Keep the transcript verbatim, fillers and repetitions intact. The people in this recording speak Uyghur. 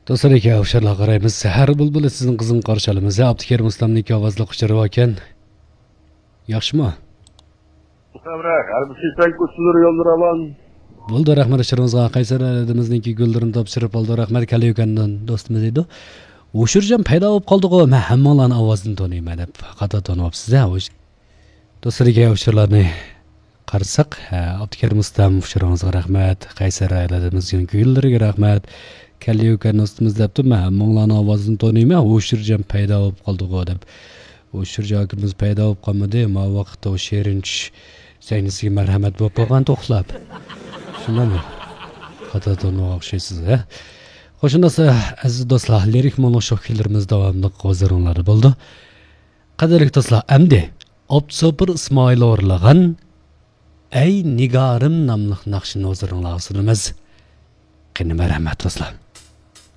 دوستلار، ئىككى ئۇچۇرلارغا قارايمىز. سەھەر بۇلبۇلى سىزنىڭ قىزغىن قارشى ئالىمىز. ئابدۇكېرىم ئۇستامنىڭ ئىككى ئاۋازلىق ئۇچۇرى باركەن. ياخشىمۇ؟ مۇستەمرە، غەربىي سىسەن كوچىلىرى يوللىرى راۋان. بولدى، رەھمەت ئۇچۇرىڭىزغا. قەيسەر ئەلىمىزنىڭكى گۈللىرىنى تاپشۇرۇپ ئالدى. رەھمەت، كەللى يۈكەندىن دوستىمىز دەيدۇ. ئۇچۇرجان پەيدا بولۇپ قالدىغۇ، مەن ھەممىڭلارنىڭ ئاۋازىنى تونۇيمەن دەپ. خاتا تونۇۋاپسىز ھە. دوستلار، ئىككى ئۇچۇرلارنى قارىساق، ھە، ئابدۇكېرىم ئۇستام، ئۇچۇرىڭىزغا رەھمەت. قەيسەر ئايالىمىزنىڭ گۈللىرىگە رەھمەت. كەللى يۈكەن دوستىمىز دەپتۇ، مەن ھەممىڭلارنىڭ ئاۋازىنى تونۇيمەن، ئۇچۇرجان پەيدا بولۇپ قالدىغۇ دەپ. ئۇچۇرجان ئاكىمىز پەيدا بولۇپ قالمىدى، ما ۋاقىتتا ئۇ شېرىن چۈش سەھنىسىگە مەرھەمەت بولۇپ قالغان توخلاپ. شۇنداقمۇ؟ خاتا تونۇغان ئوخشايسىز ھە. خوش، شۇنداقسا، ئەزىز دوستلار، لىرىك مونو شوخ كۈيلىرىمىز داۋاملىق ھۇزۇرۇڭلاردا بولىدۇ. قەدىرلىك دوستلار، ئەمدى ئابدۇسوپۇر ئىسمائىل ئورۇنلىغان ئەي نىگارىم ناملىق ناخشىنى ھۇزۇرۇڭلارغا سۇنىمىز. قېنى، مەرھەمەت دوستلار.